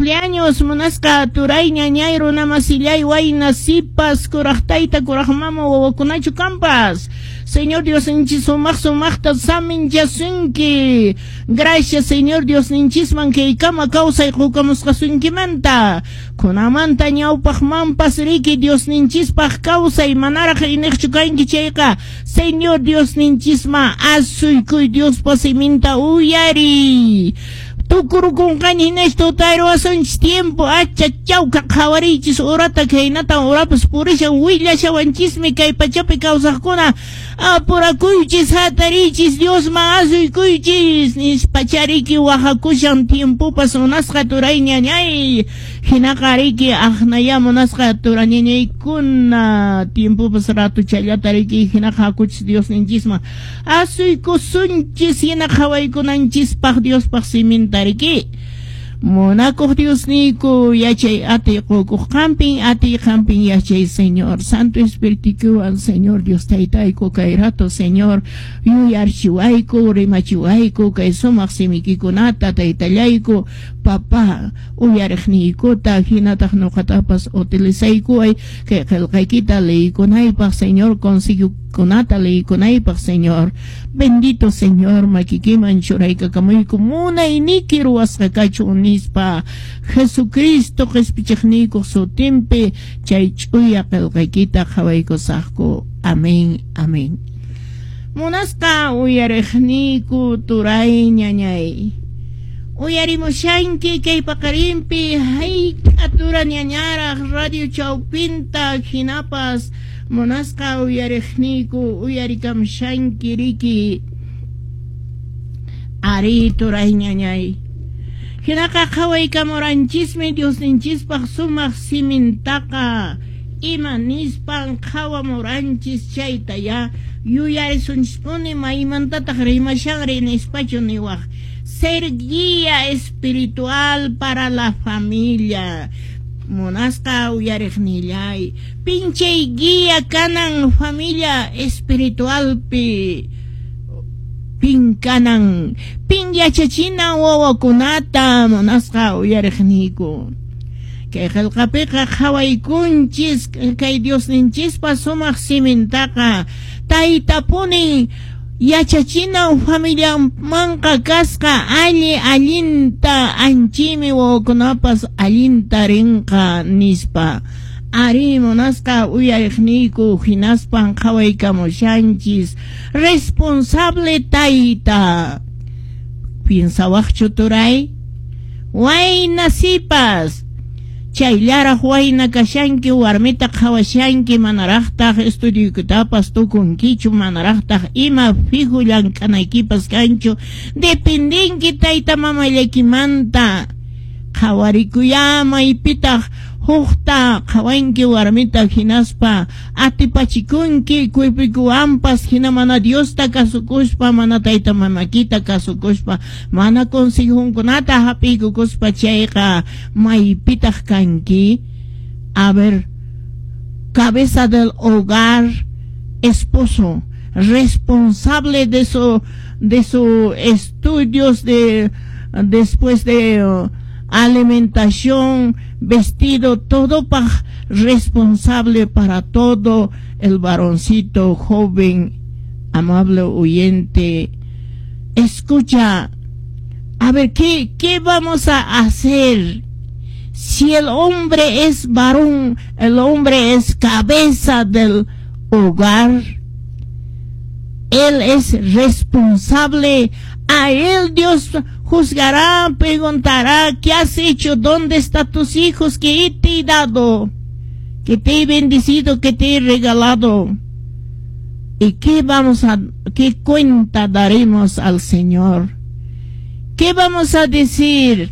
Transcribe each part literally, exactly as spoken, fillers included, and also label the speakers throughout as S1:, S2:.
S1: Cumpleaños munasqa turay, ñañay, runamasillay, wayna, sipas, kuraq tayta, kuraq mama, wawakunachu kampas. Señor Diosninchis sumaq sumaqta saminchasunki. Gracias, Señor Diosninchisman kaykama kawsay qukamusqasunkimanta. Kunamanta ñawpaqmanpas riki Diosninchispaq kawsay manaraq iniqchu kanki chayqa. Señor Diosninchisman asuykuy, Diospa siminta uyariy. Tukurukunqaña hinash tutayruwasunchis tiempo acha chawka qhawariychis urata khaynatan urapas purishan willashawanchismi kay pachapi kawsaqkuna apurakuychis hatariychis Diosman asuykuychis nispachariki wahakushan tiempopas munasqa turay ñañay hinaqa riki aqnaya munasqa turañañaykuna tiempopas ratuchallata riki hinaqa hakuchis Diosninchisman asuykusunchis hina qhawaykunanchispaq Diospaq siminta riki. Munakuq Diosniyku yachay atiy qukuq qampin atiy qampin yachay Señor Santo Espirituwan Señor Dios Taytayku kay rato Señor yuyarchiwayku rimachiwayku kay sumaq simikikunata Taytallayku papá uyariqniykuta hinataq nuqatapas utilizaykuway kay qillqaykita leykunaypaq Señor consiguikunata leykunaypaq Señor bendito Señor makikiman churaykakamuyku munayniki ruwasqa kachun nispa Jesucristo qhispichiqniykuq sutinpi chay ch'uya qillqaykita qhawaykusaqku. Amén, amén. Munasqa uyariqniyku turay ñañay uyarimushanki kay paqarinpi hayk'a tura ñañaraq radio chawpinta hinapas munasqa uyariqniyku uyarikamshanki riki ari turay ñañay hinaqa qhawaykamuranchismi Diosninchispaq sumaq simintaqa ima nispan qhawamuranchis chayta ya yuyarisunchispuni maymantataq rimashanri nispachu niwaq ser guía espiritual para la familia munasqa uyariqnillay pinchay guía kanan familia espiritualpi pin kanan pin yachachinan wawakunata munasqa uyariqniyku kay qillqapiqa qhawaykunchis kay Diosninchispa sumaq simintaqa taytapuni yachachinan familiamanqa kasqa alli allinta anchimi wawakunapas allinta rinqa nispa ari munasqa uyariqniyku hinaspan qhawaykamushanchis responsable tayta piensawaqchu turay wayna sipas chayllaraq wayna kashanki warmita qhawashanki manaraqtaq estudiokitapas tukunkichu manaraqtaq ima fijo llank'anaykipas kanchu dependinki tayta mamallaykimanta qhawarikuya maypitaq hukta qhawanki warmita hinaspa atipachikunki cuerpuykiwanpas hina mana Diosta kasukuspa mana tayta mamakita kasukuspa mana consejunkunata hap'iykukuspa chayqa maypitaq kanki. A ver, cabeza del hogar, esposo responsable de su de sus estudios de después de uh, alimentación, vestido, todo pa responsable para todo el varoncito joven, amable oyente. Escucha, a ver, ¿qué, qué vamos a hacer? Si el hombre es varón, el hombre es cabeza del hogar, él es responsable, a él Dios juzgará, preguntará, ¿qué has hecho? ¿Dónde están tus hijos que te he dado? Que te he bendecido, que te he regalado. ¿Y qué vamos a, qué cuenta daremos al Señor? ¿Qué vamos a decir?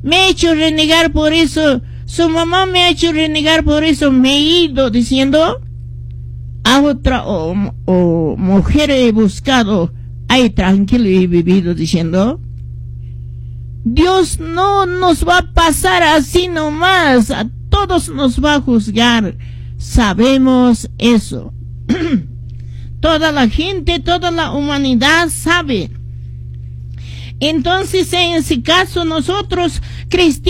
S1: Me he hecho renegar por eso, su mamá me ha hecho renegar por eso, me he ido diciendo, a otra o, o mujer he buscado, ahí tranquilo he vivido diciendo, Dios no nos va a pasar así nomás, a todos nos va a juzgar, sabemos eso. Toda la gente, toda la humanidad sabe. Entonces, en ese caso, nosotros cristianos,